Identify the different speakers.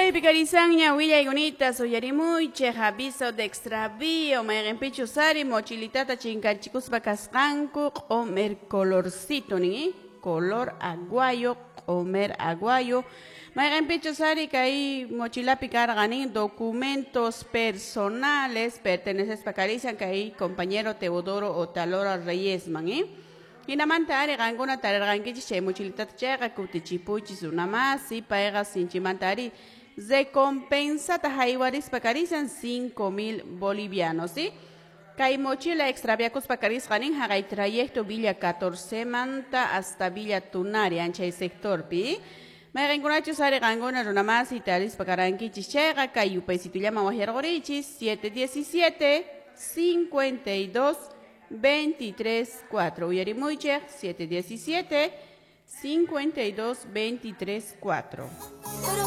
Speaker 1: Kaypi karisanña willaykunita uyarimuychik aviso de extravío mayqinpichus ari mochilitata chinkachikuspa kasqanku q'umer colorcito nin color aguayo q'umer aguayo mayqinpichus ari kay mochilapi karqa nin documentos personales pertenecespa karisan kay compañero Teodoro Otalora Reyesman. Hinamanta ari qankuna tarirqankichik chay mochilitata chayqa kutichipuychis runamasi payqa sinchimanta ari recompensata haywarispa karisan 5000 bolivianos, ¿sí? Kay mochila extraviakuspa karisqa nin haqay trayecto Villa 14 manta hasta Villa Tunari anchay sectorpi. Mayqinkunachus ari qankuna runamasi tarispa karankichis chayqa kay yupaysitullaman waqyarqurichis 717 52 23 4. Uyarimuychik 717 52 23 4.